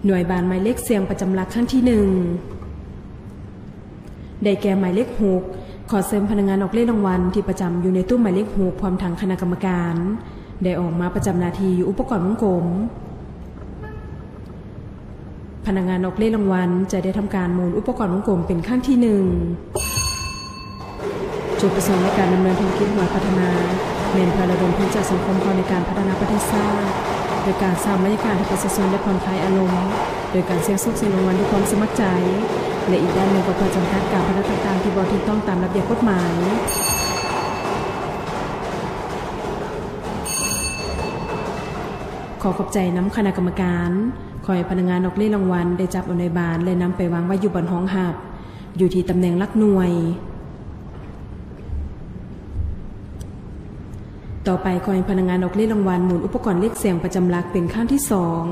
ໜ່ວຍບານໝາຍເລກສ່ຽງປະຈຳຫຼັກຄັ້ງທີໜຶ່ງ ໄດ້ແກ່ໝາຍເລກຫົກ. ຂໍເຊີນພະນັກງານອອກເລກລາງວັນທີ່ປະຈຳຢູ່ໃນຕູ້ໝາຍເລກຫົກ ພ້ອມທັງຄະນະກຳມະການ ໄດ້ອອກມາປະຈຳໜ້າທີ່ຢູ່ອຸປະກອນວົງກົມ. ພະນັກງານອອກເລກລາງວັນຈະໄດ້ທຳການໝູນອຸປະກອນວົງກົມເປັນຄັ້ງທີໜຶ່ງ. ຈຸດປະສົງໃນການດຳເນີນທຸລະກິດຫວຍພັດທະນາ ແມ່ນເພື່ອລະດົມທຶນຈາກສັງຄົມເຂົ້າໃນການພັດທະນາປະເທດຊາດ ໂດຍການສ້າງບັນຍາກາດໃຫ້ປະຊາຊົນໄດ້ຜ່ອນຄາຍອາລົມ ໂດຍການສ່ຽງໂຊກສ່ຽງລາງວັນດ້ວຍຄວາມສະໝັກໃຈ ແລະ ອີກດ້ານໜຶ່ງກໍເພື່ອຈຳກັດການພະນັນຕ່າງໆທີ່ບໍ່ຖືກຕ້ອງຕາມລະບຽບກົດໝາຍ. ຂໍຂອບໃຈນຳຄະນະກຳມະການ. ຂໍໃຫ້ພະນັກງານອອກເລກລາງວັນໄດ້ຈັບເອົາໜ່ວຍບານ ແລະ ນຳໄປວາງໄວ້ຢູ່ບ່ອນຮອງຮັບ ຢູ່ທີ່ຕຳແໜ່ງຫຼັກໜ່ວຍ. ຕໍ່ໄປ ຂໍໃຫ້ພະນັກງານອອກເລກລາງວັນໝູນອຸປະກອນເລກສ່ຽງປະຈຳຫຼັກເປັນຄັ້ງທີສອງ.